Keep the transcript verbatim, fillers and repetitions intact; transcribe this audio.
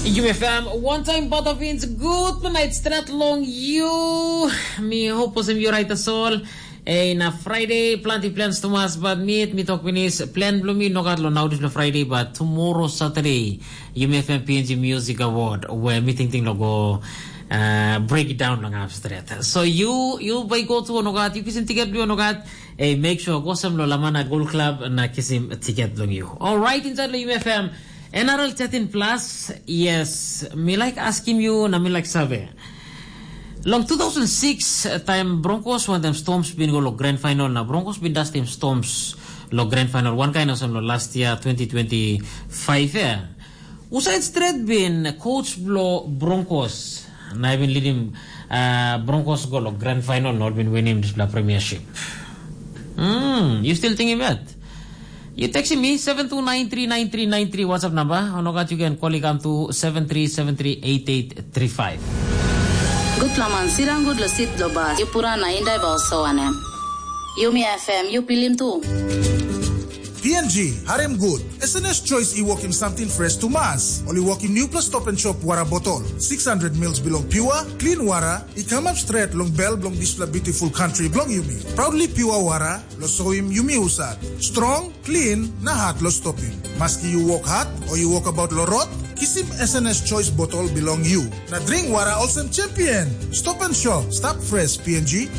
Yumi F M, one time Butterfins, good night strat long you. Mi hope olsem you right as all. Hey, na Friday, planti plans tumas, but mi, mi tok pinis, plan bilong mi nogat lo nau dispela Friday, but tomorrow Saturday, Yumi F M P N G Music Award, where mi tingting lo go uh, break it down long up straight. So you, you by go to nogat, you kisim ticket bilong nogat, hey, make sure go sem lo Lamana Gold Club na kisim ticket long you. All right, inside lo Yumi F M, N R L thirteen plus, yes, mi like askim you, na mi like save. Long two thousand six, uh, time Broncos wantaim Storms bin go lo grand final, na Broncos bin dastim Storms lo grand final, one kind of lo last year, twenty twenty-five, eh? Usaid stret bin coach blo Broncos, na bin leading uh, Broncos go lo grand final, not bin winning this premiership. Hmm, you still thinking about? You texting me seven two nine three nine three nine three WhatsApp number. Or not, you can call it come to seven three seven three eight eight three five. Good laman, sirang good lo sit lo bas. You pura na indai ba oso wanem. Yumi F M, you pilim tu. P N G, harem good. S N S Choice i wokim something fresh to mas. Oli wokim new plus stop and shop wara botol. six hundred mils bilong pure, clean wara, i come up straight long bell bilong dispela beautiful country bilong yumi. Proudly pure wara, lo soim yumi usat. Strong, clean, na hard lo stopim. Maski you work hard or you work about lo road, kisim S N S Choice botol bilong you. Na drink wara olsem champion. Stop and shop, stop fresh P N G.